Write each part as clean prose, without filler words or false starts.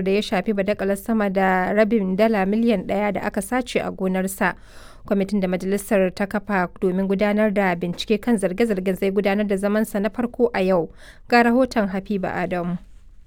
Da ya shafi badakalar sama da rabin dala miliyan ɗaya da aka sace a gonarsa. Kwamitin da majalisar ta kafa domin gudanar da bincike kan zarge-zargen zai gudanar da zamansa na farko a yau. Ga rahoton Habiba Adamu.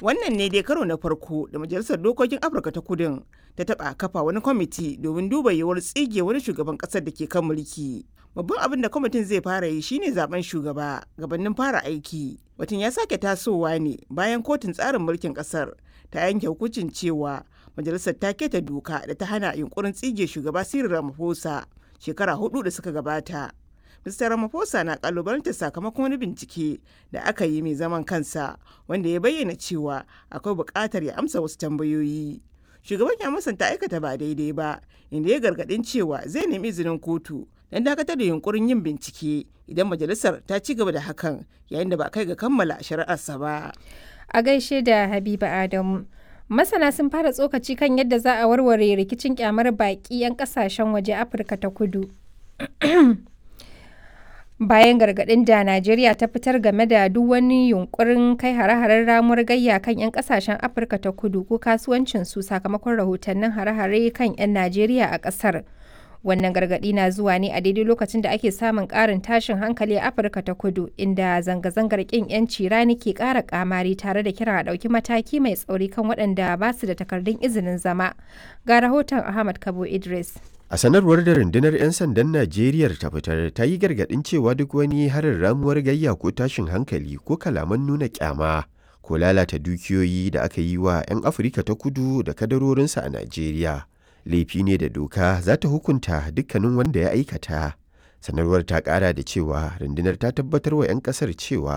Wannan ne dai karo na farko da Majalisar Dokokin Afirka ta Kudun ta taɓa kafa wani kwamiti domin duba yiwuwar tsige wani shugaban ƙasar da ke kan mulki. Babban abin da kwamitin zai fara yi shine zaben shugaba gabanin fara aiki. Batun ya sake tasowa ne bayan kotun tsarin mulkin ƙasar ta yanke hukuncin cewa majalisar ta keta doka da ta hana yunkurin tsige shugaba Cyril Ramaphosa shekara 4 da suka gabata. Mr. Ramaphosa na kalubalantar sakamakon wani bincike da aka yi mai zaman kansa wanda ya bayyana cewa akwai buƙatar ya amsa wasu tambayoyi. Shugaban ya musanta aikata ba daidai ba, inda ya gargaɗin cewa zai nemi izinin kotu don dakatar da yunkurin yin bincike idan majalisar ta ci gaba da hakan yayin da ba kai ga kammala shari'arsa ba. A gaishe da Habiba Adamu. Masana sun fara tsokaci kan yadda za a warware rikicin kyamar baƙi 'yan ƙasashen waje Afirka ta Kudu. Bayan gargaɗin da Najeriya ta fitar game da duk wani yunkurin kai hare-haren ramuwar gayya kan 'yan kasashen Afirka ta Kudu ko kasuwancinsu sakamakon rahotannin hare-hare kan 'yan Najeriya a ƙasar. Wannan gargaɗi na zuwa ne a daidai lokacin da ake samun ƙarin tashin hankali a Afirka ta Kudu, inda zanga-zangar ƙin 'yanci rani ke ƙara ƙamari tare da kiran a ɗauki mataki mai tsauri kan waɗanda ba su da takardun izinin zama. Ga rahoton Ahmad Kabo Idris. A sanarwar da rundunar 'yan sandan Najeriya ta fitar, ta yi gargaɗin cewa duk wani harin ramuwar gayya ko tashin hankali ko kalaman nuna kyama ko lalata dukiyoyi da aka yi wa 'yan Afirka ta Kudu da kadarorinsu a Najeriya, laifi ne da doka za ta hukunta dukkanin wanda ya aikata. Sanarwar ta ƙara da cewa rundunar ta tabbatar wa 'yan ƙasar cewa